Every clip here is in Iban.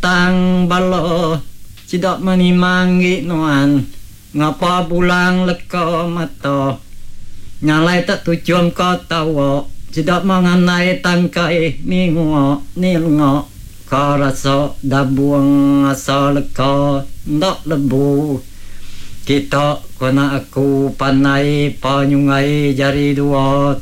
muntang bala sida menimang enggi nuan ngapa bulang leka mata. Nya alai tak tuchum ka tawa sida mengandai tangkai ni ngua ni lenga ka rasa dabung asa leka enda lebu. Kita ku anak aku pandai pa nyunggai jari dua.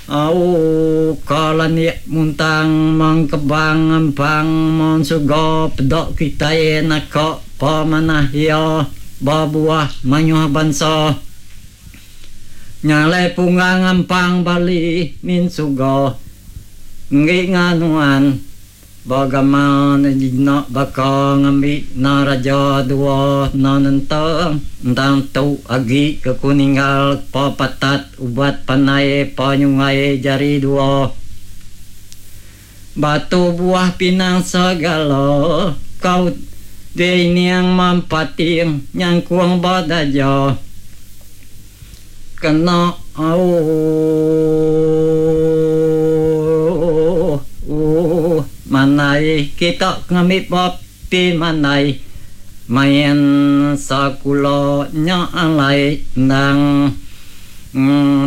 Au ka landik muntang mengkebang ampang mon suga peda kitai naka pa manah iya ba buah mayuh bansa. Nya alai punggang ampang bali min suga enggi nganuan. Ba gamal ne jina baka ngambi na raja dua na nentang endang tu agi ke ku ninggal pa patat ubat pandai pa nyungai jari dua batu buah pinang segala kau dei niang mampating nyangkung ba daja. Kena ooh manai kita ngambi bapi manai main sekula nya alai endang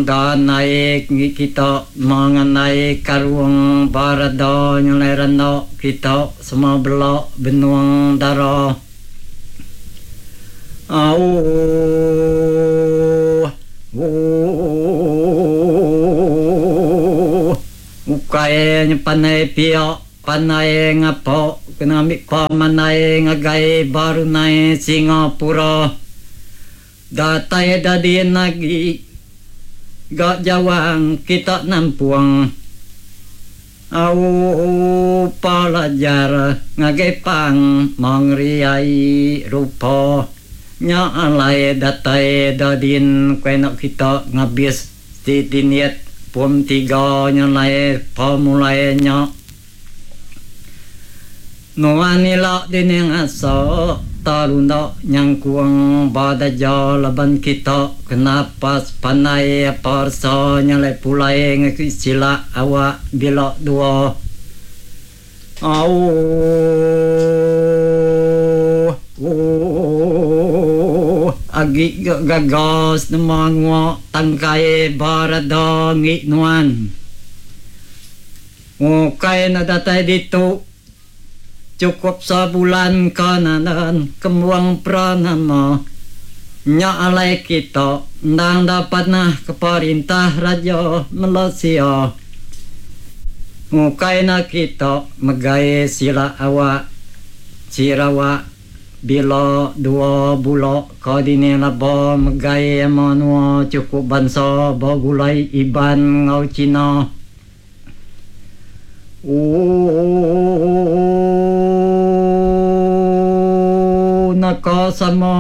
danai kita mengenai karung barada nyelai renda kita semua bela benung dara. Auh uuh Ukai nya pandai pia pandai ngapa kena ambi pemandai ngagai Brunei Singapura datai dadin agi ga jawang kita nampung. Au pelajar ngagai pang mengeri ai rupa nya alai datai da din ku enda kita ngabis ti dinit pom tiga nya alai pemulai nya. Nuan ila dining asa ta runda nyangkung ba daja laban kita kena pas pandai apa resa nyalai pulai ngaki silak awak bila dua. Auh uuh agi ga gaga senema ngua tangkai ba rada ngi nuan. Ukai enda datai ditu chukup sebulan ka nadan kembuang pranama. Nya alai kita endang enda panah ke perintah Raja Malaysia. Ukai enda kita megai sila awak Sarawak. Bila dua bula ka dini laba megai menua chukup bansa begulai Iban enggau Cina. Ooh naka sama.